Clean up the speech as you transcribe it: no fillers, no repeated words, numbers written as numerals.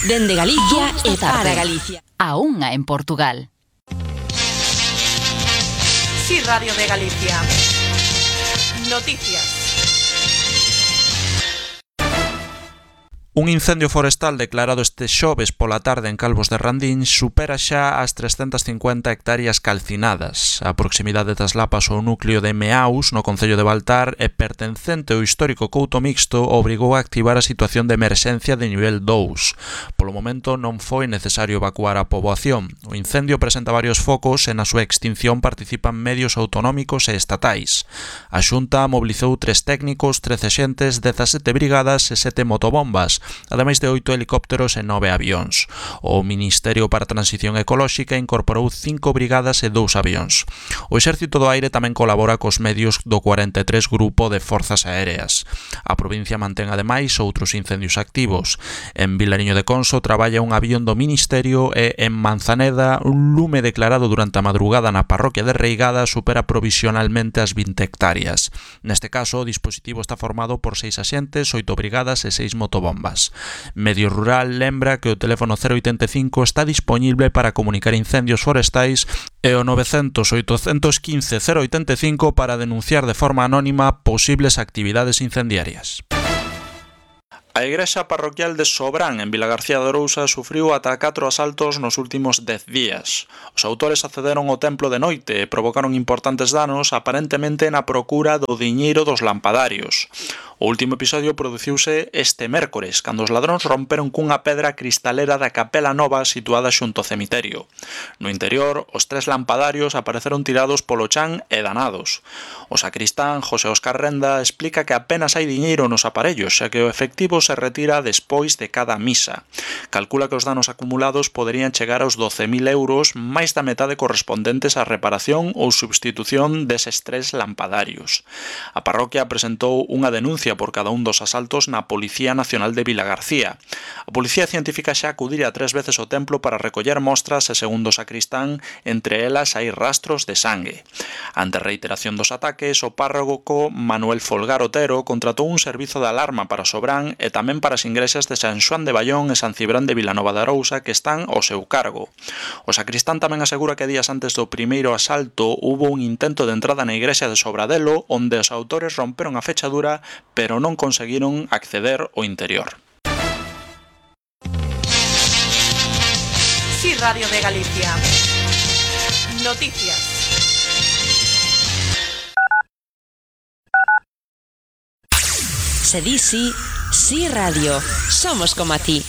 Dende Galicia e para Galicia. A unha en Portugal. Sí, Radio de Galicia. Noticias. Un incendio forestal declarado este xoves pola tarde en Calvos de Randín supera xa as 350 hectáreas calcinadas. A proximidade das Lapas ao núcleo de Meaus, no concello de Baltar, e pertencente ao histórico Couto Mixto, obrigou a activar a situación de emerxencia de nivel 2. Polo momento non foi necesario evacuar a poboación. O incendio presenta varios focos e na súa extinción participan medios autonómicos e estatais. A Xunta mobilizou 3 técnicos, 13 xentes, 17 brigadas e 7 motobombas, ademais de 8 helicópteros e 9 avións. O Ministerio para a Transición Ecolóxica incorporou 5 brigadas e 2 avións. O Exército do Aire tamén colabora cos medios do 43 Grupo de Forzas Aéreas. A provincia mantén ademais outros incendios activos. En Vilariño de Conso traballa un avión do Ministerio e en Manzaneda un lume declarado durante a madrugada na parroquia de Reigada supera provisionalmente as 20 hectáreas. Neste caso, o dispositivo está formado por 6 axentes, 8 brigadas e 6 motobombas. Medio Rural lembra que o teléfono 085 está dispoñible para comunicar incendios forestais e o 900-815-085 para denunciar de forma anónima posibles actividades incendiarias. A igrexa parroquial de Sobrán, en Vilagarcía de Arousa, sufriu ata 4 asaltos nos últimos 10 días. Os autores accederon ao templo de noite e provocaron importantes danos, aparentemente na procura do diñeiro dos lampadarios. O último episodio produciuse este mércores, cando os ladróns romperon cunha pedra cristalera da capela nova situada xunto ao cemiterio. No interior, os 3 lampadarios apareceron tirados polo chan e danados. O sacristán, José Óscar Renda, explica que apenas hai diñeiro nos aparellos, xa que o efectivo se retira despois de cada misa. Calcula que os danos acumulados poderían chegar aos 12.000 euros, máis da metade correspondentes á reparación ou substitución deses 3 lampadarios. A parroquia presentou unha denuncia por cada un dos asaltos na Policía Nacional de Vilagarcía. A Policía Científica xa acudira 3 veces ao templo para recoller mostras e, segundo o sacristán, entre elas hai rastros de sangue. Ante a reiteración dos ataques, o párroco Manuel Folgar Otero contratou un servizo de alarma para Sobrán e tamén para as igrexas de San Xoán de Baión e San Cibrán de Vilanova de Arousa que están ao seu cargo. O sacristán tamén asegura que días antes do primeiro asalto hubo un intento de entrada na igrexa de Sobradelo onde os autores romperon a fechadura pero non conseguiron acceder ao interior. Sí, Radio de Galicia. Noticias. Se di sí, sí Radio. Somos como a ti.